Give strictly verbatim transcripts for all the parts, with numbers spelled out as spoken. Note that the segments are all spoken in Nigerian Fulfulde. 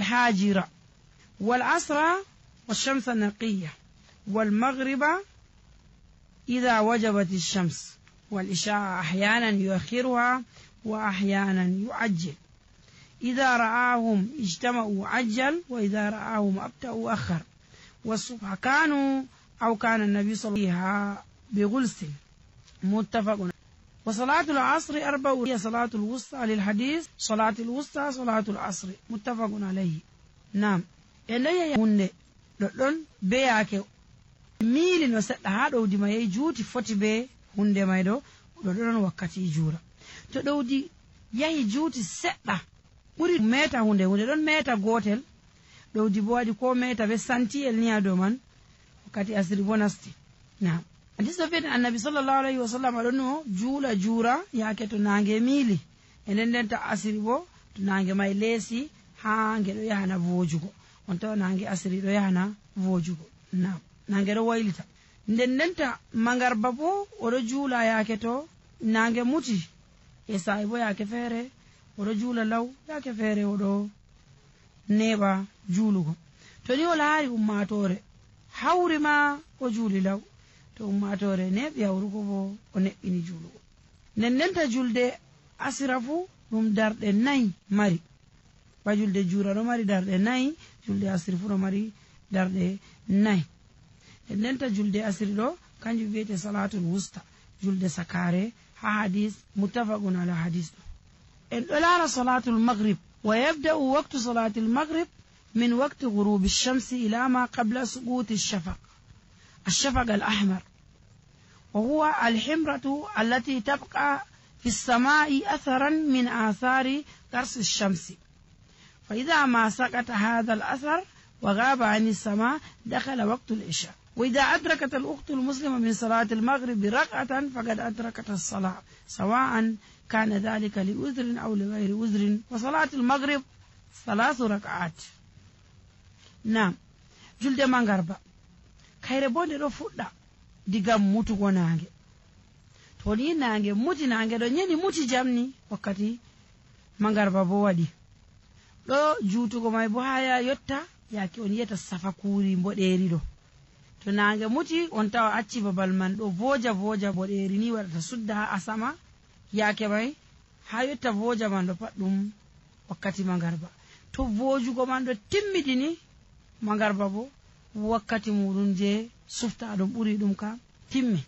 الحاجرة، والعصر والشمس النقية، والمغرب إذا وجبت الشمس، والعشاء أحيانا يؤخرها وأحيانا يعجل. إذا رآهم اجتمعوا عجل، وإذا رآهم أبطأوا أخر. والصبح كانوا أو كان النبي صلى الله عليه وسلم بغلس متفق. وصلاة العصر أربع، هي صلاة الوسطى للحديث صلاة الوسطى صلاة العصر متفق عليه. نعم إليه هند لون بياك ميل نسد هذا دي ما يجوتي فوتي بي هند ما يدو لون وقتي جورا تدودي يهي جوتي سدة ɓuri meta hunde hunde ɗon meta gotel ɗowdi bo waɗi ko meta be santiyel ni ha dow man wakkati asiri bo nasti. Nam hadis ɗo wi'ete annabi sallallahu alayhi wa sallam ɗon no juula juura yaake to nange miili e nden nden ta asiri bo to nange may leesi ha nge ɗo yahana vojugo on tawa nange asiri ɗo yahana vojugo. Nam nange ɗo waylita nden nden ta mangarba bo oɗo juula yaake to nange muti e sa'i bo yaake feere oɗo juula law yaake feere oɗo neɓa juulugo. to ni o laari ummatore hawri ma o juuli law, to ummatore neɓi hawrugo bo o neɓɓini juulugo. nden ndenta julde asira fu ɗum darɗe nayi mari, ba julde juura ɗo mari darɗe nayi, julde asiri fu ɗo mari darɗe nayi. nden ndenta julde asiri ɗo kanjum wiyete salatul wusta, julde sakare ha hadis muttafaqun ala hadis ɗo. en ɗo laara salatul maghrib wa yabda'u waqtu salatul maghrib min waqti ghurubi shamsi ila ma qabla suquti الشفق الشفق الأحمر، وهو الحمرة التي تبقى في السماء أثرا من آثار قرص الشمس، فإذا ما سقط هذا الأثر وغاب عن السماء دخل وقت العشاء. وإذا أدركت الأخت المسلمة من صلاة المغرب ركعة فقد أدركت الصلاة، سواء كان ذلك لعذر أو لغير عذر. وصلاة المغرب ثلاث ركعات. نعم جلد مغربا kayre bo nde ɗo fuɗɗa diga mutugo nange, to ni nange muti nange ɗo nyeni muti jamni wakkati mangarba bo waɗi ɗo juutugo may bo haya yotta yake on yiyata safakuri mboɗeri ɗo. to nange muti on tawa acci babal man ɗo voja voja mboɗeri ni waɗata sudda ha asama yake may ha yotta voja man ɗo pat ɗum wakkati mangarba. to vojugo man ɗo timmidini mangarba bo wakkati muɗum je sufta ɗum ɓuri ɗum ka timmi,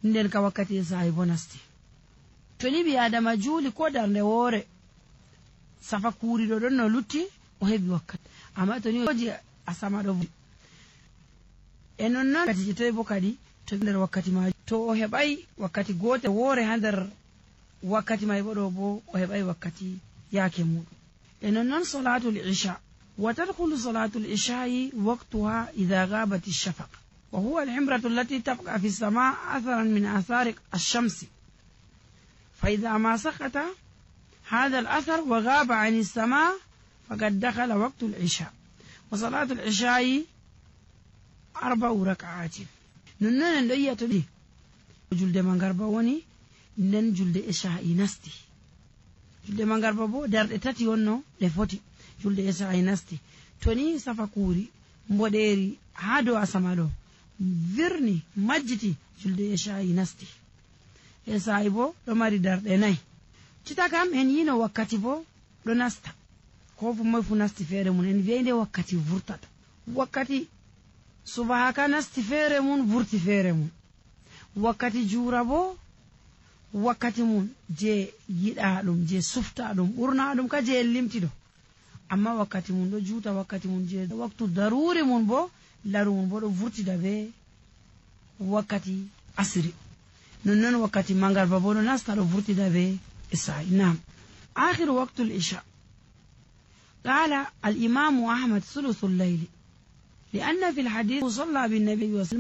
nden ka wakkati sa'i bo nasti. to ni ɓi adama juuli ko darnde woore safa kuuriɗo ɗon no lutti o heɓi wakkati, amma to ni oji asama ɗo e non noon wakkati je toy bo kadi to nder wakkati ma to o heɓay wakkati gotel woore ha nder wakkati may bo ɗo bo o heɓay wakkati yaake muɗum. e non noon salatul isha وتدخل صلاة العشاء وقتها إذا غابت الشفق، وهو الحمرة التي تبقى في السماء أثرا من آثار الشمس، فإذا ما سقط هذا الأثر وغاب عن السماء فقد دخل وقت العشاء. وصلاة العشاء أربع ركعات. ننن دية دي جلد منغربا وني نن جلد عشاء نستي جلد منغربا بو در تاتي ونو لفوتي julde e sa'i nasti. to ni safa kuuri mboɗeri ha dow asama ɗo virni majjiti julde e sa'i nasti. e sa'i bo ɗo mari darɗe nayi. cita kam en yino wakkati bo ɗo nasta, ko fu moy fu nasti feere mun, en wi'ay nde wakkati vurtata. wakkati subahaka nasti feere mun vurti feere mun. wakkati juura bo wakkati mun je yiɗa ɗum je sufta ɗum ɓurna ɗum ka je limti ɗo, amma wakkati mun ɗo juuta wakkati mun je waktu daruri mun bo laru mun bo ɗo vurtida be wakkati asiri. nonnon wakkati mangarba bo ɗo nasta ɗo vurtida be isa'i. nam akhiru waqtu al-isha qala al-imam ahmad thuluth al-layl لأن في الحديث صلى بالنبي وسلم